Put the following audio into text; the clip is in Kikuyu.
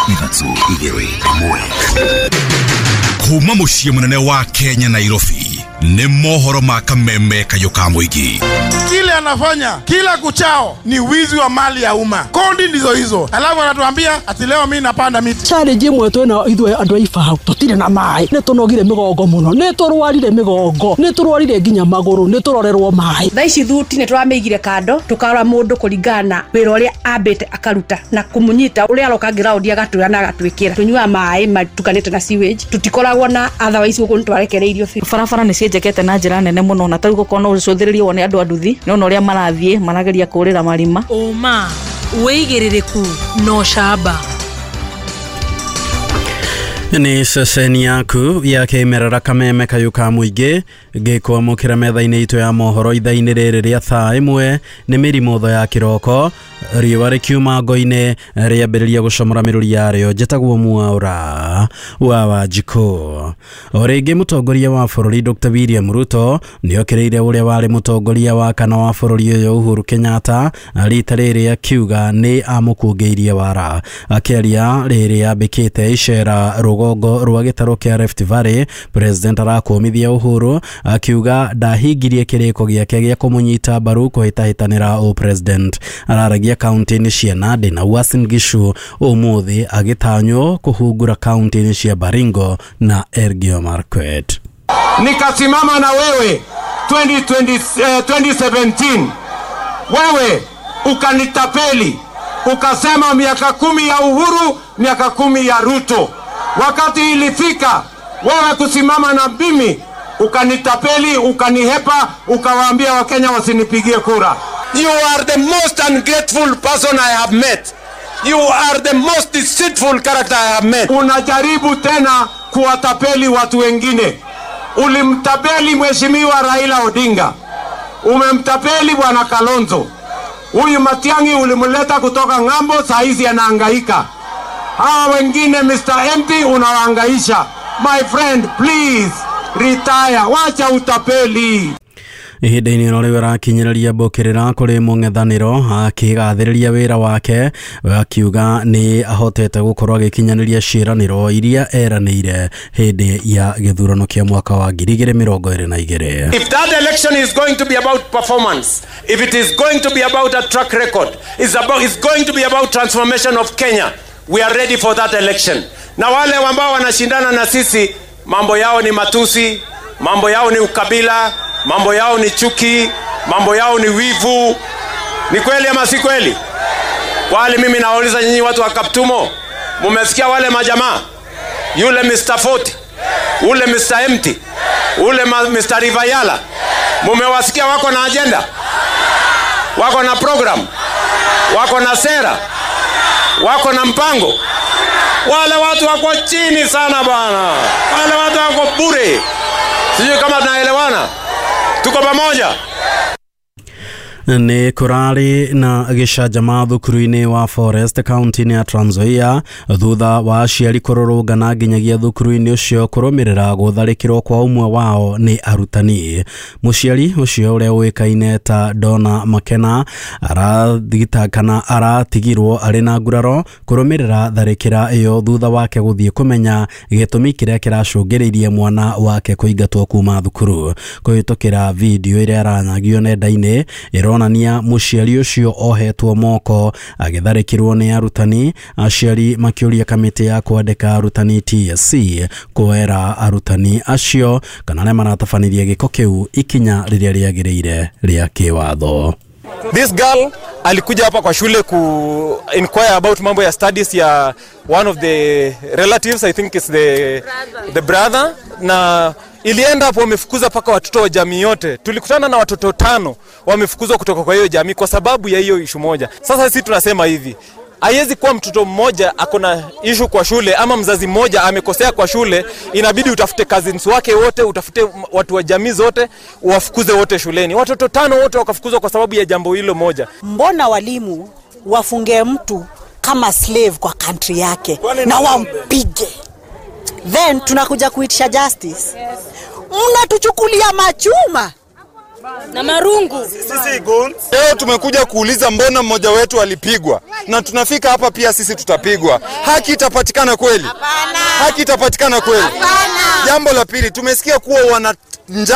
3 2 1. Kuma muciĩ mũnene wa Kenya Nairobi nĩ mohoro ma kameme kayũ ka mũingĩ. Kile anafanya kila kuchao ni wizi wa mali ya umma. Kodi ndizo hizo. Alafu anatuambia ati leo mimi napanda miti. Challenge imwe twina ithuĩ andũ a Ibao tũtirĩ na maĩ. Nĩ tũnogire mĩgongo mũno. Nĩ tũrwarire mĩgongo. Nĩ tũrwarire nginya magũrũ. Nĩ tũrorerwo maĩ. Thaa ici thuti nĩ tũramĩigire kando tũkarora mũndũ kũringana na wĩra ũrĩa ambĩte akaruta na kũmũnyita ũrĩa aroka ground agatwĩra na agatwĩkĩra. Tũnyuaga maĩ matukanĩte na sewage. Tũtikoragwo na otherwise gũkũ nĩ twarekereirio biũ. Barabara nĩ cienjekete na njĩra nene mũno na tarĩu gũkorwo no ũcũthĩrĩrie wone andũ a nduthi nĩ ũrĩa marathiĩ marageria kũrĩra marima. Ũma wĩigĩrĩrĩku no camba. Nĩ ceceni yaku ya kĩmerera kameme kayũ ka mũingĩ ngĩkwamũkĩra metha-inĩ itũ ya mohoro ithaa-inĩ rĩrĩ rĩa thaa ĩmwe nĩ mĩrimũ ya kĩroko riũa rĩkiuma ngo-inĩ rĩambĩrĩria gũcomora mĩrũri yarĩo. Njĩtagwo Mwaura wa Wanjikũ. O rĩngĩ mũtongoria wa bũrũri Dr. William Ruto nĩokĩrĩire ũrĩa warĩ mũtongoria wa kana wa bũrũri ũyũ Uhuru Kenyatta rita rĩrĩ akiuga nĩ amũkũngĩirie wara. Akĩaria rĩrĩ ambĩkĩte icera rũgongo rwa gĩtarũ kĩa Rift Valley, President arakũmithia Uhuru akiuga ndahingirie kĩrĩko gĩake gĩa kũmũnyita mbaru kũhĩtahĩtanĩra ũpresident. Araragia kaunti-inĩ cia Nandi na Uasin Gishu ũmũthĩ agĩtanywo kũhungura kaunti-inĩ cia Baringo na Elgeyo Marakwet. Nikasimama na wewe 2017, wewe ukanitapeli ukasema miaka 10 ya Uhuru, miaka 10 ya Ruto. Wakati ilifika wewe kusimama na mimi ukanitapeli, ukanihepa, ukawaambia Wakenya wasinipigie kura. You are the most ungrateful person I have met. You are the most deceitful character I have met. Unajaribu tena kuwatapeli watu wengine. Ulimtapeli Mheshimiwa Raila Odinga. Umemtapeli Bwana Kalonzo. Huyu Matiang'i ulimleta kutoka ng'ambo, saa hizi anahangaika. Hawa wengine Mr. Empty unawahangaisha. My friend, please retire. Wacha utapeli. Ihinda-inĩ ĩno rĩu arakinyĩrĩria mbũkĩrĩra kũrĩ mũng'ethanĩro akĩgathĩrĩria wĩra wake akiuga nĩ ahotete gũkorwo agĩkinyanĩria ciĩranĩro iria eranĩire hĩndĩ ya gĩthurano kĩa mwaka wa 2022. If that election is going to be about performance, if it is going to be about a track record, it's going to be about transformation of Kenya, we are ready for that election. Na wale ambao wanashindana na sisi, mambo yao ni matusi, mambo yao ni ukabila, mambo yao ni chuki, mambo yao ni wivu. Ni kweli ama si kweli? Wale mimi nawauliza nyinyi watu wa Kaptumo, mumesikia wale majamaa? Yule Mr. Forty, ule Mr. Empty, ule Mr. Rivayala. Mumewasikia wako na agenda? Wako na program? Wako na sera? Wako na mpango? Wale watu wako chini sana bwana. Wale watu wako bure. Sijui kama tunaelewana. Tuko pamoja. Nĩ kũrarĩ na gĩcanjama thukuru-inĩ wa Forest kaunti-inĩ ya Trans Nzoia thutha wa aciari kũrũrũngana nginyagia thukuru-inĩ ũcio kũrũmĩrĩra gũtharĩkĩrwo kwa ũmwe wao nĩ arutani. Mũciari ũcio ũrĩa ũĩkaine ta Donna Makena arathitangana aratigirwo arĩ na nguraro kũrũmĩrĩra tharĩkĩra ĩyo thutha wake gũthiĩ kũmenya gĩtũmi kĩrĩa kĩracũngĩrĩirie mwana wake kũingatwo kuma thukuru. Kũhĩtũkĩra video ĩrĩa ĩranyagio nenda-inĩ ĩronania mũciari ũcio ohetwo moko agĩtharĩkĩrwo nĩ arutani, aciari makĩũria kamĩtĩ ya kwandĩka arutani TSC kuoera arutani acio kana arĩa maratabanirie gĩko kĩu ikinya rĩrĩa rĩagĩrĩire rĩa kĩwatho. This girl alikuja hapa kwa shule ku inquire about mambo ya studies ya one of the relatives, I think it's the brother, na ilienda hapo wamefukuza paka watoto wa jamii yote. Tulikutana na watoto 5 wamefukuzwa kutoka kwa hiyo jamii kwa sababu ya hiyo issue moja. Sasa sisi tunasema hivi, haiwezi kuwa mtoto mmoja akona issue kwa shule ama mzazi mmoja amekosea kwa shule, inabidi utafute cousins wake wote, utafute watu wa jamii zote, uwafukuze wote shuleni. Watoto 5 wote wakafukuzwa kwa sababu ya jambo hilo moja. Mbona walimu wafunge mtu kama slave kwa country yake na wampige? Then tunakuja kuitisha justice. Mnatuchukulia machuma. Na marungu. Sisi goons. Leo tumekuja kuuliza mbona mmoja wetu alipigwa, na tunafika hapa pia sisi tutapigwa. Haki itapatikana kweli? Haki itapatikana kweli? Jambo la pili, tumesikia kuwa wana